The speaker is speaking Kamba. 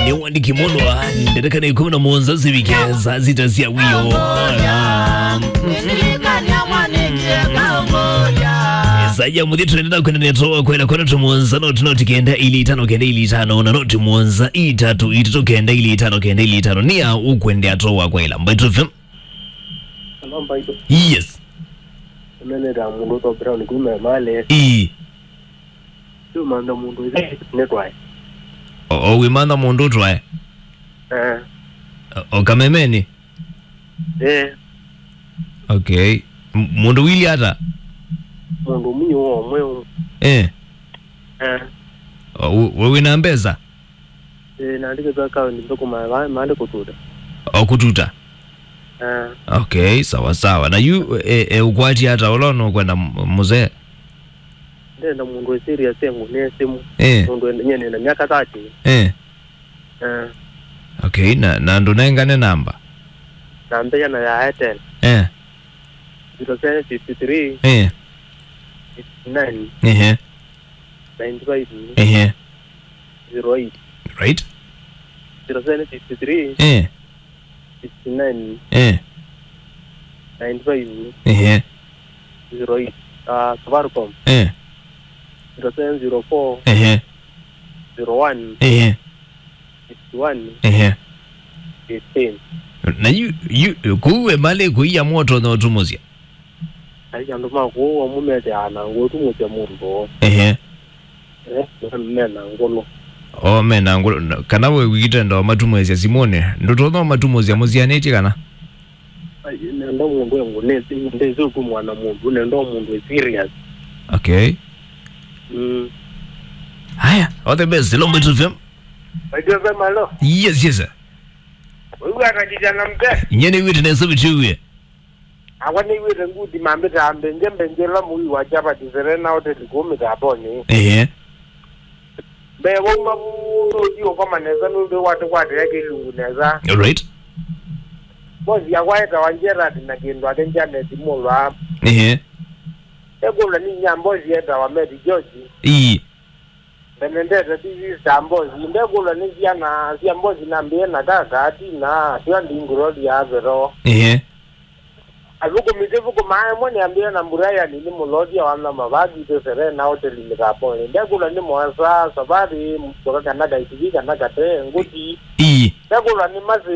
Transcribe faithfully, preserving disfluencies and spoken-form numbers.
Nĩ wandĩki mũlwa, ndereka nĩ ikũmi na mũonza sivike saa sita sya wĩoo. Saa ya mũthya tũendete na kwenda nĩ atoa kwela kwa noti mũonza, noti, noti kenda ili itano kenda ili itano, na noti mũonza itatu itatu kenda ili itano kenda ili itano. Nĩa ũkwendea atoa kwela? Mbaitu F M. Hello, Mbaitu. Yes. Ũneneta mũndũ ũtwa Brown kuma Emali. Ii. Ndũmantha mũndũ ĩthe nĩ twae. O, o wĩmantha mũndũ ũtwae? Eh. O, o kamemeni? Eh. Okay. M-, mũndũ wili ata? Mũndũ mũnyũ wa ũmwe. Eh. Eh. O, we, we wĩna mbesa? Eh, naandĩkĩtwe akaunti nthũkũma va maandĩ kũtuta. O kũtuta? Eh. Okay, sawa sawa. Na yu, e, e, ũkwati ata ũla nũkwenda m-, mũzee? Ndenda mũndũ wĩ serious engũnĩe simũ. Eh. Mũndũ wĩ, nyie nĩna myaka thirty. Eh. Eh. Okay, na, na ndũnengane namba? Namba yana ya Airtel. Eh. Zero seven fifty three. Eh. Fifty nine. Ehe. Ninety five. Ehe. Zero eight. Right. Zero seven fifty three. Eh. Fifty nine. Eh. Ninety five. Ehe. Zero eight. Ah, Safaricom. Eh. Zero seven zero four. Ehe. Zero one. Ehe. Fifty one. Ehe. Fifteen. Na yu, yu, kũu Emali kũiya mũtonya ũtumũsya? Ai, andũ ma kũu amwe methĩawa na ngũtũmũsya mũndũ. Ehe. Eh, me na ngũlũ. O, me na ngũlũ. Na, kana we wĩkĩte ndo matumũsya simũnĩ, ndũtonya matumũsya mũsianĩtye kana? Ai, nenda mũndũ engũnĩsya, ndĩsĩ ũtumwa na mũndũ, nenda mũndũ e serious. Okay. Mm. Haya, all the best. Hello, Mbaitu F M. Mbaitu F M, hello. Yes, yes, sir. Ũiw'ana kijana mzee? Nye nĩw'ĩte nesa vitiwie. Akwa nĩw'ĩte ngudi mambĩta mbenje mbenje ĩla mũi wa chapati Serena Hotel kũu mĩtambonĩ. Ehe. Mbee wauma vu nũthi ũkoma nesa nũndũ watũkwatĩĩa kĩlungu nesa. All right. Bosi yakwa etawa Gerard na kĩndũ ake Janet Mulwa. Ehe. Ekũlwa nĩ inya bosi etawa Mary George. Ii. Benedetta ti sister mbosi. Ndekũlwa nĩ syana sya mbosi nambĩe na kaka, Tina, Syondi, Gloria, Vero. Ehe. Athũkũmi tĩthũkũmaa ĩmwe nĩambĩe na Brian nĩ mũlothya wa nyama vakitwe Serena Hotel mĩtambonĩ. Ndekũlwa nĩ Moasa, Savari, Mboka kana Kaitivi kana Kate, Ngũti. Ii. Ndekũlwa nĩ Masi.